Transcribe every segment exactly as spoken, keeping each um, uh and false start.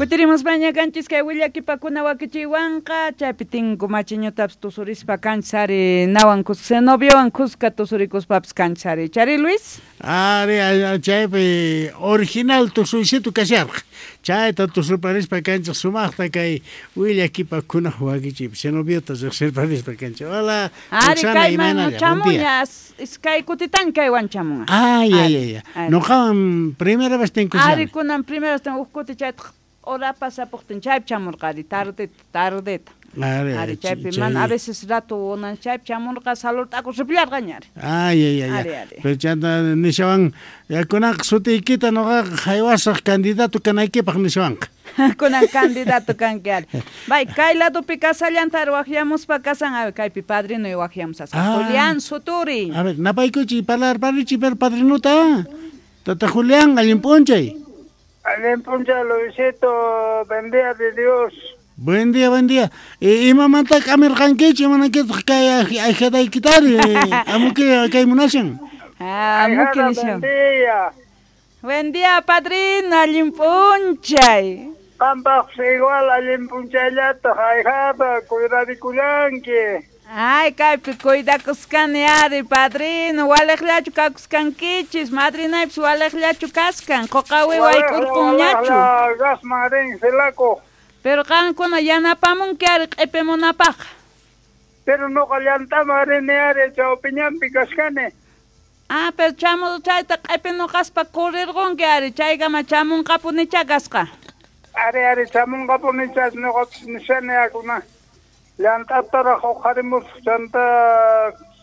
Kutirimuspaña kanchis kay willakipakuna wakichiwanqa chaypi tinku machiñutapis tusurispa kanchis nawan kuska Zenobiowan kuska tusurikuspapis kanchis ari. Chari Luis? Ari, chaypi original tusuysitu kasharqa. Chayta tusurparispa kanchis sumaqta kay willakipakuna wakichiypi Zenobiota riqsirparispa kanchis. Hola, Ari kayman chamuña iskay kutitan kaywan chamunqa. Ay, ay, ay, ay. Noqawan primera vez tinkushani. Ari kunan primera vez huk kuti chayta hora pasapuqtin chaypi chamurqari tardeta tardeta. Ari, ari chaypi mana a veces rato unan chaypi chamurqa salurt'aku ripillarqaña ari. Ay, ay, ay. Pero chanta nishawan kunaqa sutiykita noqaqa haywasaq candidato kanaykipaq nishawanqa. Kunan candidato kanki ari. Bay kay ladopi kasallanta ari waqyamuspa kasan ari kaypi padrino waqyamusasqa. Julián Suturi. A ver, napaykuchi parlarparichi pero padrinuta. Tata Julián, allin p'unchay. Allin p'unchay, Luisito, buen día de Dios. Buen día, buen día. Imamanta k'amirqankichu, imanaykitaq kay ahijadaykitari, amuki kay munashan. Ah, amuki nishan. Buen día. Buen día, padrino, allin p'unchay. Qampaqpis igual allin p'unchayllataq, ahijada, cuidadikullanki. Ay, kaypi cuidakuskani ari, padrino, waliqllachu kakuskankichis, madrinaypis waliqllachu kaskan, quqawi wayk'urqunñachu. Gasman rin silakuq. Pero qankuna yanapamunki ari q'ipimunapaq. Pero noqa llant'aman rini ari, chawpiñanpi kashkani. Ah, pero chamu chayta q'ipinuqaspa kurirqunki ari, chaykama chamunqapunicha kasqa. Ari, ari, chamunqapunicha noqapis nishani akuna. Llant'ataraq uqharimusaq chanta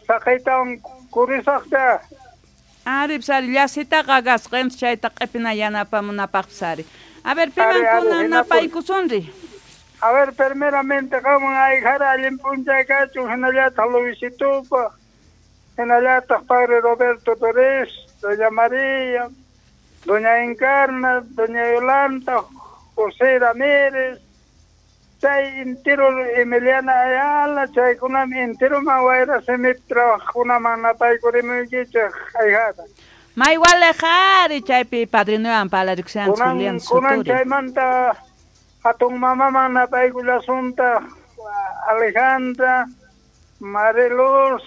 saqiytawan kurisaqcha. Ari, pis ari, llasitaqa kasqa, chayta q'ipina yanapamunapaqpis ari. A ver, pimankuna napaykusunri. A ver, primeramente qamwan ahijara allin p'unchay kachun, hinallataq Luisitupaq, hinallataq padre Roberto Torres, doña María, doña Encarna, doña Yolanda, José Ramírez, chay entero Emiliana Ayala, chaykunami enteroman wayra simip trabajkunaman napaykurimuykichik ahijada. May waliq ari chaypi padrinowan parlarikusanchis Julián Suturi. Kunan chaymanta hatun mamaman napaykullasunta Alejandra, Mariluz,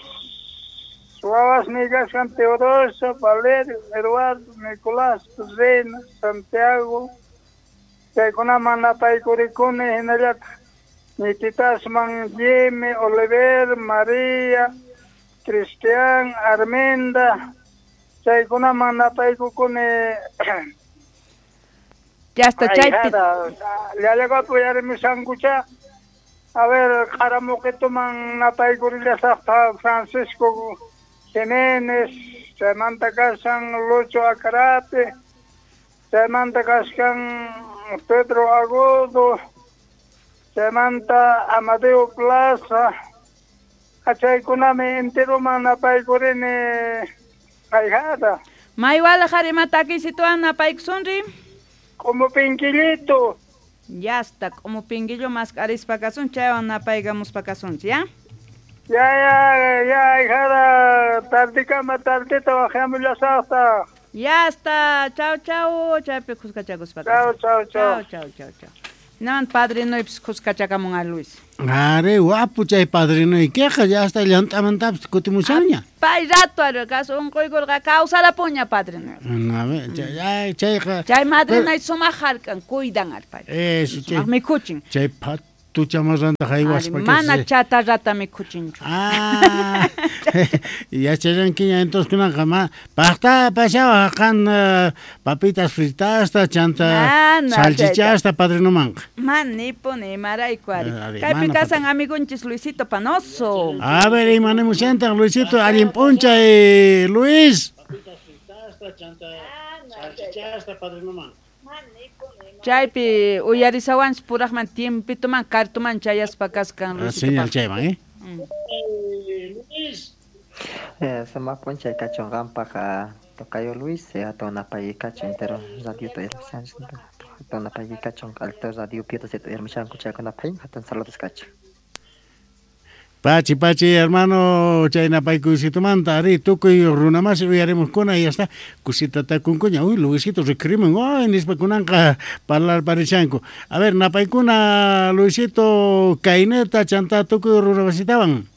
wawasniy kashan Teodosio, Valerio, Eduardo, Nicolás, Reina, Santiago, chaykunaman napaykurikuni hinallataq ñititasman Jimmy, Oliver, María, Cristian, Arminda, chaykunaman napaykukuni. Ya está chaypi. Llallaqapu yarimushankucha. A ver, qaramuqituman napaykurillasaqta Francisco Jiménez, chaymanta kashan Lucho Acarape, chaymanta kashan Pedro Agudo, chaymanta Amadeo Plaza, chaykunami enteroman napaykurini ahijada. May waliq ari ima takisituwan napaykusunri. Como pinquillito. Ya está, como pinquillo mask'arispa kasun, chaywan napaykamuspa kasunchis, ¿ya? Ya, ya, ya, ahijada, tardikama tardita waqyamullasaqta. Ya está, chau, chau, chaypi kuskachakuspa kasun. Chau, chau, chau. Chau, chau, chau. Hinaman padrinoypis kuskachakamun a Luis. Ari, wapu chay padrinoykiqa, ya hasta llant'amantapis kutimushanña. Pay rato ari, kas unquykurqa kawsarapuña padrinoy. A ver, chay chayqa. Chay madrinay sumaq hark'an, cuidan ari pay. Eso, chay. Sumaq mikhuchin. Chay patuchamarranta haywaspa. Mana chatarrata mikhuchinchu. Ah, yachallankiña entonces kunanqa ma paqta pashawa qan papitas fritasta chanta salchichasta padrinomanqa. Man nipuni imarayku ari. Kaypi kasan amigunchis Luisito Panoso. A ver, imanimushantan Luisito, allin p'unchay Luis. Papitas fritasta chanta salchichasta padrinomanqa. Chaypi uyarisawanchis puraqman tiempituman kartuman chayaspa kaskan Luisito. Señal chayman, eh? Luis. Eh, sumaq p'unchay kachun qampaq tocayo Luis, hatun napaykachu entero radio tuyarmushanchis, hatun napaykachu alto radio piedras tuyarmushanku chaykunapaq hatun saludos kachun. Pachi, pachi, hermano, chay napaykuysitumanta, ari, tukuy runamasi uyarimuskuna y hasta kusita takunkuña, uy, Luisito rikhurimun, uy, nispa kunanqa parlarparishanku. A ver, napaykuna, Luisito, kayneta, chanta tukuy runamasitawan.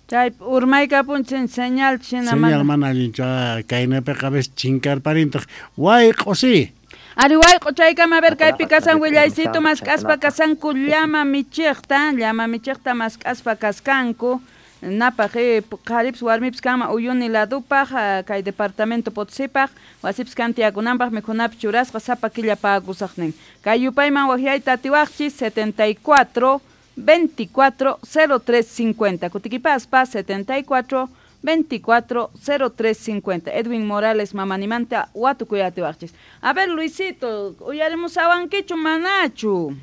Chay urmaykapunchin señal china señal mana allinchu kaynapiqa a veces chinkarparintaq wayq'o sí. Ari wayq'o chaykama a ver kaypi kasan willaycito mask'aspa kasanku llama michiqta llama michiqta mask'aspa kaskanku napaq qharipis warmipis kanman Uyuni ladupaq kay departamento Potosipaq wasipis kan tiyakunanpaq mikhunapis churasqa sapa killa pagusaqnin kay yupayman waqyayta atiwaqchis setenta y cuatro veinticuatro cero tres cincuenta. Kutikipaspa setenta y cuatro veinticuatro cero tres cincuenta. Edwin Morales mamanimanta watukuyatiwaqchis. A ver Luisito, uyarimusawankichu manachu?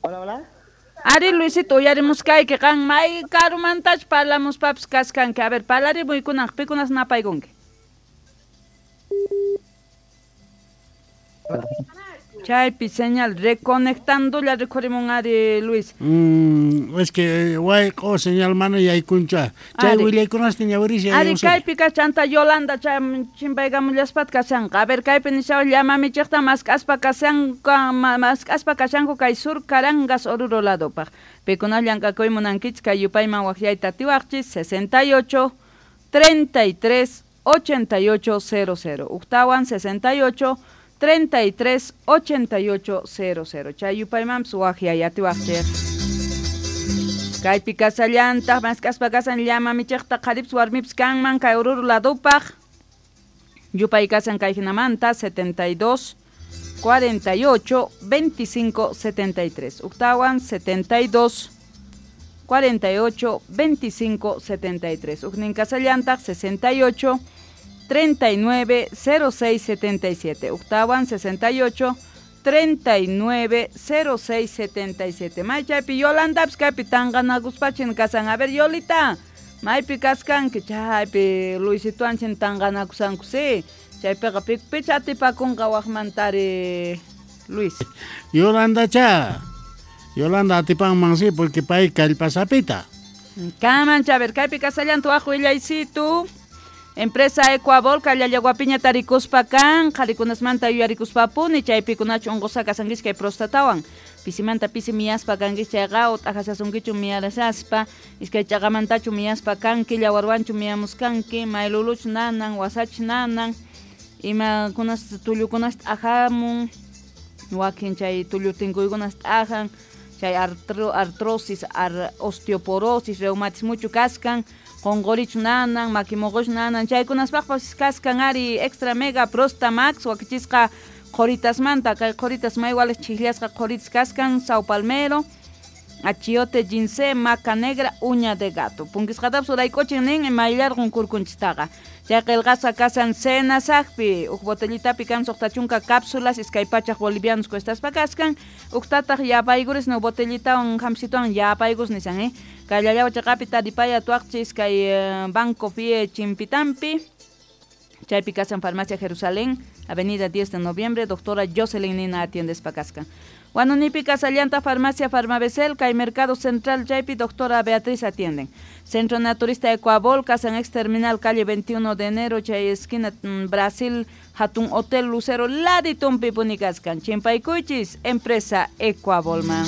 Hola, hola. Ari Luisito, uyarimuskayki qan may karumantach parlamuspapis kaskanki. A ver, parlarimuykunaq pikunas napaykunki. Chaypi señal reconectándola rikhurimun ari Luis. Mm, es que wayq'o señal mana yaykuncha. Chay willaykunasta ñawirisha. Ari kaypi kachanta Yolanda chay chimpaykamullaspat kashanqa. A ver kaypi nishawa llama michiqta mask'aspa kashanka mask'aspa kashanku kay sur Carangas Oruro ladopaq. Pikuna llank'akuy munankichis kay yupayman waqyayta atiwaqchis sesenta y ocho treinta y tres ochenta y ocho cero cero. Uktawan sesenta y ocho treinta y tres ochenta y ocho cero cero. Chay yupaymanpis waqyay atiwaqchik. Kaypi kasallantaq mask'aspa kasan llama michiqta qharipis warmipis kanman kay Oruro ladupaq. Yupay kasan kay hinamanta setenta y dos cuarenta y ocho veinticinco setenta y tres. Uktawan setenta y dos cuarenta y ocho veinticinco setenta y tres. Uknin kasallantaq sesenta y ocho treinta y nueve cero seis setenta y siete. Uktawan sesenta y ocho treinta y nueve cero seis setenta y siete. May chaypi Yolandapis kaypi tanqanakuspachin kasan. A ver Yolita, maypi kaskanki chaypi Luisituanchin tanqanakusanku sí. Chaypiqa pikpicha atipakunqa waqmantari Luis. Yolanda cha. Yolanda atipanman sí porque pay kallpasapita. Kaman cha, a ver kaypi kasallantu waq willaysitu. Empresa Ecuabol, Kallallaguapiña tarikuspa kan, qharikunasmanta yuyarikuspapuni, chaypikunachu unqusqa kasankichik kay prostatawan. Pisimanta pisi miyaspa kankichik chayqa ut'ajasasunkichu miyarasaspa, iskay chaqamantachu miyaspa kanki, llawarwanchu miyamuskanki, mayluluchu nanan, wasachu nanan, imakunas tullukunas t'ajamun, wakin chay tullu tinkuykunas t'ajan, chay artro, artrosis, ar, osteoporosis, reumatismuchu kaskan, qonqorichu nanan, makimoqochu nanan, chaykunaspaqpas kaskan ari extra mega prosta max wakichisqa qhoritasmanta, kay qhoritas maywales chijllasqa qhoritas kaskan, sao palmero, achiote, ginseng, maca negra, uña de gato. Punkisqatapis urayk'uchin nin mayllarqun kurkunchistaqa. Chay qillqasqa kasan cenasaqpi, uj botellitapi kan suqta chunka cápsulas, iskay pachaq bolivianos cuestaspa kaskan, uqtataq yapaykuris no botellitawan hamsituwan yapaykus nisan, eh. Kay chaqapi taripaya tuaqchis kay Banco Fie Chimpitampi, chaypi kasan Farmacia Jerusalén, Avenida diez de Noviembre, doctora Jocelyn Nina atiendes kaskan. Guanunipi kasallanta Farmacia Farmabecel, kay Mercado Central chaypi doctora Beatriz atienden. Centro Naturista Ecuabol, Casan Ex Terminal, calle veintiuno de enero, chay esquina Brasil, Hatun Hotel Lucero, Laditumpi punikaskan. Chimpaykuychis, empresa Ecuabolman.